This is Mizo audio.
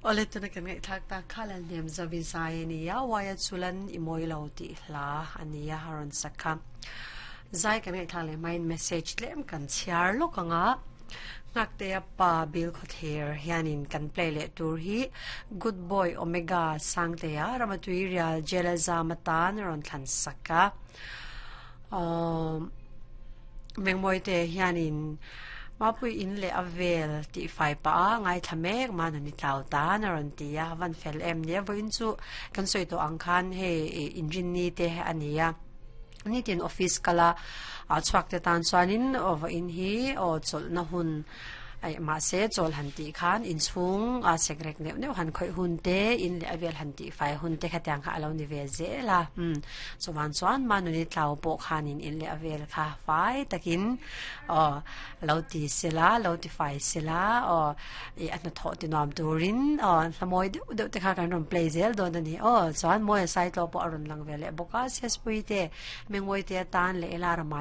Awle tuna kan ngaihthlak tak kha Lalhnem Zovi zai a nia, Uaia chulan i mawi lo tih hla a nia a rawn sak kha. Zai kan ngaihthlak leh hmain message tlem kan chhiar lawk ang a, Nghaktea pa Bill Khawthlir hianin kan play leh tur hi Good Boy Omega Sangtea Ramatui Rial Jail a zam atan a rawn thlan sak a. Mengmawite hianin Mapui in leh a vel tih fai pah a ngaithla mek mahna ni tlau tan a rawn ti a, van fel em nia vawiin chu kan sawi tawh ang khan hei inrinni te a ni a, nitin office kala chhuak te tan chuanin vawiin hi aw chawlhna hun Aih, mahse chawl han tih khan inchhung a sekrek neuh neuh han khawih hun te, in leh a vel han tih fai hun te khatiang kha a lo ni ve zel a. Umm, chuvan chuan Manuni tlau pawh khanin in leh a vel kha fai takin aw lo ti sela, lo ti fai sela aw ih a hnathawh ti nuam turin aw hlamawi deuh deuh te kha kan rawn play zel dawn a ni aw. Chuan Mawia Saitlaw pawh a rawn lang ve leh bawk a, Sespui te, Mengmawite atan leh Ela Rama.